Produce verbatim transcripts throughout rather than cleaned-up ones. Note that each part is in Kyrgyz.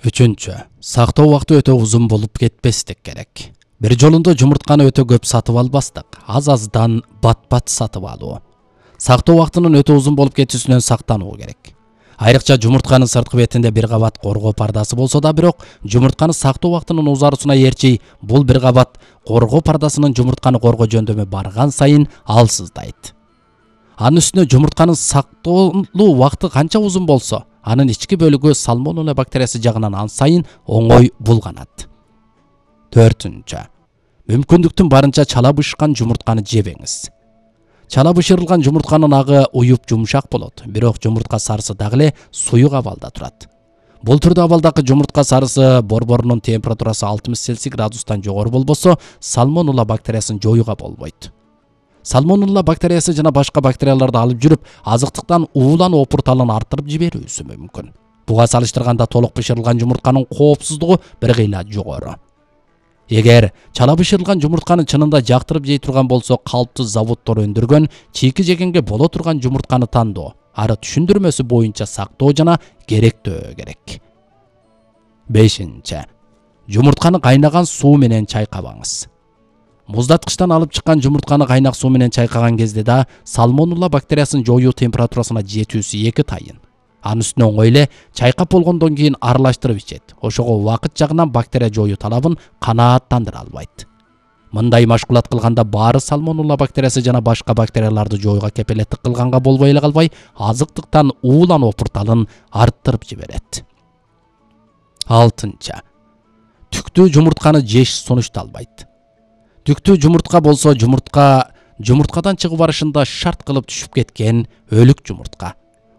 Үчүнчү. Сактоо убакыты өтө узун болуп кетпестик керек. Бир жолунда жумуртканы өтө көп сатып албастык. Аз-аздан бат-бат сатып алуу. Сактоо убактынын өтө узун болуп кетүүсүнөн сактануу керек. Айрыкча жумуртканын сырткы бетинде бир кабат коргоо пардасы болсо да, бирок жумуртканы сактоо убактынын узарусуна ээрчи бул бир кабат коргоо пардасынын жумуртканы коргоо жөндөмү барган сайын алсыздайт. Анын үстүнө жумуртканын сактоолуу убакыты канча узун болсо, анын ички бөлүгү сальмонелла бактериясы жагынан ан сайын оңой булганат. Төртүнчү. Мүмкүндүктүн барынча чала бышкан жумуртканы жебеңиз. Чала бышырылган жумуртканын агы уюп жумшак болот, бирок жумуртка сарысы дагы эле суюк абалда турат. Бул түрдө абалдагы жумуртка сарысы борборунун температурасы алтымыш цельсий градустан жогору болбосо, сальмонелла бактериясын жоюуга болбойт. Сальмонелла бактериясы жана башка бактерияларды алып жүрүп, азыктыктан уулан опурталын арттырып жиберүүсү мүмкүн. Буга салыштырганда толук бышырылган жумуртканын коопсуздугу бир кыйла жогору. Эгер чала бышырылган жумуртканы чынында жактырып жей турган болсо, калптуу заводдор өндүргөн чийки жегенге боло турган жумуртканы тандоо, ары түшүндүрмөсү боюнча сактоо жана керектөө керек. Бешинчи. Жумуртканы кайнаган суу менен чайкабаңыз. Муздаткычтан алып чыккан жумуртканы кайнак суу менен чайкаган кезде да сальмонелла бактериясын жоюу температурасына жетүүсү эки тайын. Анын үстүнө оңой эле чайкап болгондон кийин аралаштырып ичет. Ошого убакыт жагынан бактерия жоюу талабын канааттандыра албайт. Мындай машгулат кылганда баары сальмонелла бактериясы жана башка бактерияларды жоюуга кепелеттик кылганга болбой эле калбай, азыктыктан уулан опурталын арттырып жиберет. Алтынчы. Түктүү жумуртканы жеш сунушталбайт. Түктүү жумуртка болсо, жумуртка жумурткадан чыгып барышында шарт кылып түшүп кеткен өлүк жумуртка.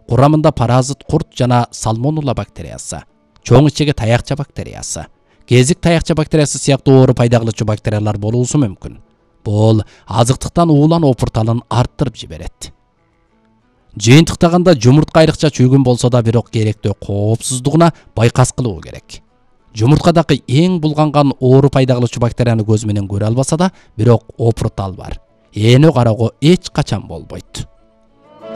Курамында паразит курт жана сальмонелла бактериясы, чоң ичеге таякча бактериясы, кезик таякча бактериясы сыяктуу оору пайда кылуучу бактериялар болуусу мүмкүн. Бул азыктыктан уулан опурталын арттырып жиберет. Жыйынтыктаганда жумуртка айрыкча чүйгүн болсо да, бирок керектөө коопсуздугуна байкас кылуу керек. Жумурткадагы эң булганган оору пайда кылуучу бактерияны көз менен көрө албаса да, бирок опуртал бар. Эне кароого эч качан болбойт.